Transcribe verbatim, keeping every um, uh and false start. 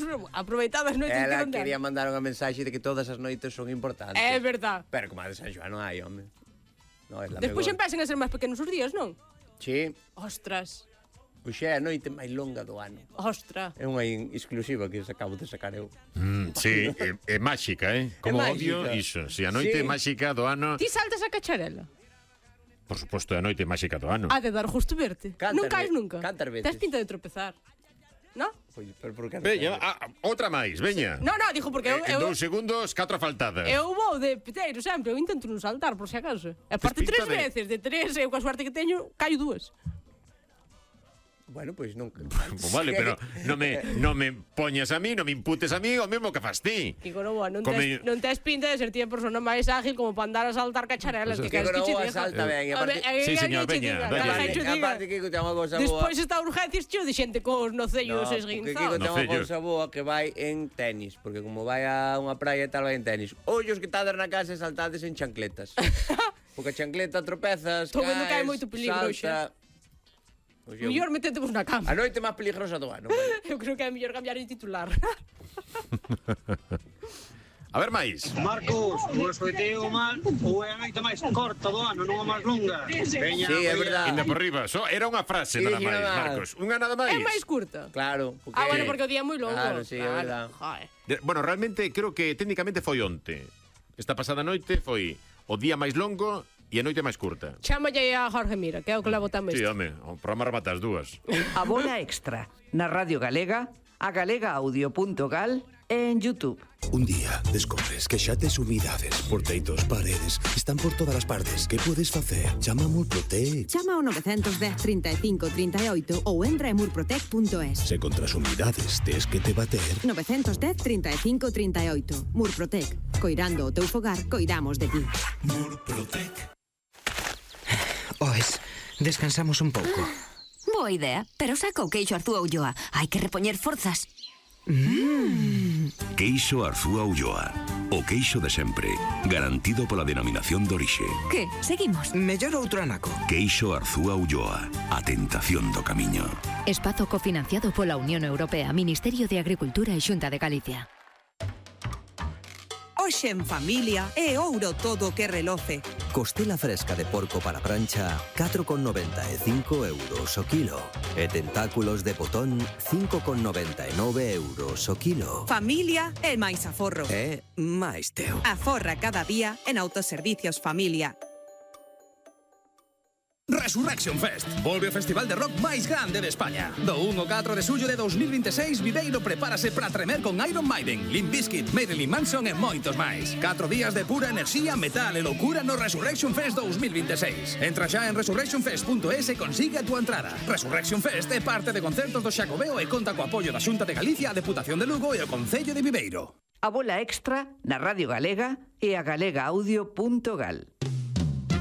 nos aproveitadas noites que Ela non ten. quería mandar unha mensaxe de que todas as noites son importantes. É verdad. Pero como a de San Xoán non hai, home. No, é la Despois mellor. empecen a ser máis pequenos os días, non? Sí. Ostras. Pois é a noite máis longa do ano. Ostra. É unha in- exclusiva que acabo de sacar eu. Mm, sí, é, é máxica, eh? Como É odio máxica. iso. Si a noite Sí. máxica do ano, Ti saltas a cacharela? por suposto, é a noite máxica do ano. Ha de dar justo verte. Cantas Non caes ve- nunca. cantas veces? Tes pinta de tropezar. No? Pois, pero por que Veña, ah, outra máis, veña. No, no, dijo porque eu, En eu, dous segundos, catro faltadas. eu vou de piteiro sempre, eu intento non saltar, por si acaso. E aparte pinta tres de- veces, de tres, eu coa suerte que teño, caio dúas. Bueno, pois non. Pues vale, pero non me, non me poñas a mí, non me imputes a mí o mesmo que fas ti. Kiko Novoa, non Come- tes, non tes pinta de ser ti a persona máis ágil como para andar a saltar cacharelas. Pues que es queres que que che Novoa diga? salta ben, e aparte- A ver, Sí, que señor, che veña, diga, veña. que Aparte, che diga. aparte, Kiko ten unha cousa boa. Despois está urgencias cheo de xente cos nocellos No, porque Kiko esguinzados. ten unha Nocellos. cousa boa que vai en tenis, porque como vai a unha praia e tal, vai en tenis. Ollos que tades na casa e saltades en chancletas. Porque a chancleta tropezas, Estou vendo que hai caes, moito peligro salta. Pois eu- Mellor metete vos na cama. A noite máis peligrosa do ano. Vale? Eu creo que é mellor cambiar de titular. A ver máis. Marcos, o escoitei o mal ou é a noite máis corta do ano, non a máis longa? Veña, Sí, é pois, verdad. Ainda por riba, só era unha frase Sí, nada sí, máis, nada máis. Marcos. Unha nada máis. É máis curta. Claro. Porque... Ah, bueno, porque o día é moi longo. Claro, sí, é verdad. Joder. De- Bueno, realmente creo que técnicamente foi onte. Esta pasada noite foi o día máis longo e a noite máis curta. Chámalle a Jorge Mira, que é o que levo tamén. Sí, home, o programa remata as dúas. A bola extra na Radio Galega, a galegaaudio punto gal e en YouTube. Un día descobres que xa tes humidades por teitos, paredes, están por todas as partes. Que podes facer? Chama a Murprotec. Chama ao nove un cero, trinta e cinco, trinta e oito ou entra en murprotec punto es. Se contra as humidades tes que te bater, nove un cero, trinta e cinco, trinta e oito. Murprotec. Coirando o teu fogar, coidamos de ti. Murprotec. Oes, descansamos un pouco. Boa idea, pero saca o queixo Arzúa Ulloa. Hai que repoñer forzas. Queixo Arzúa Ulloa. O queixo de sempre, garantido pola denominación de orixe. Que? Seguimos. Mellor outro anaco. Queixo Arzúa Ulloa. A tentación do camiño. Espazo cofinanciado pola Unión Europea, Ministerio de Agricultura e Xunta de Galicia. Hoxe en familia é ouro todo que reloce. Costela fresca de porco para prancha, catro con noventa e cinco euros o kilo. E tentáculos de botón, cinco con noventa e nove euros o kilo. Familia é máis aforro. É máis teu. Aforra cada día en Autoservicios Familia. Resurrection Fest, volve o festival de rock máis grande de España. Do un ao catro de xullo de dos mil vinte e seis, Viveiro prepárase para tremer con Iron Maiden, Limp Bizkit, Marilyn Manson e moitos máis. Catro días de pura enerxía, metal e loucura no Resurrection Fest dos mil vinte e seis. Entra xa en resurrection fest punto es e consigue a túa entrada. Resurrection Fest é parte de concertos do Xacobeo e conta co apoio da Xunta de Galicia, a Deputación de Lugo e o Concello de Viveiro. A bola extra na Radio Galega e a galegaaudio punto gal.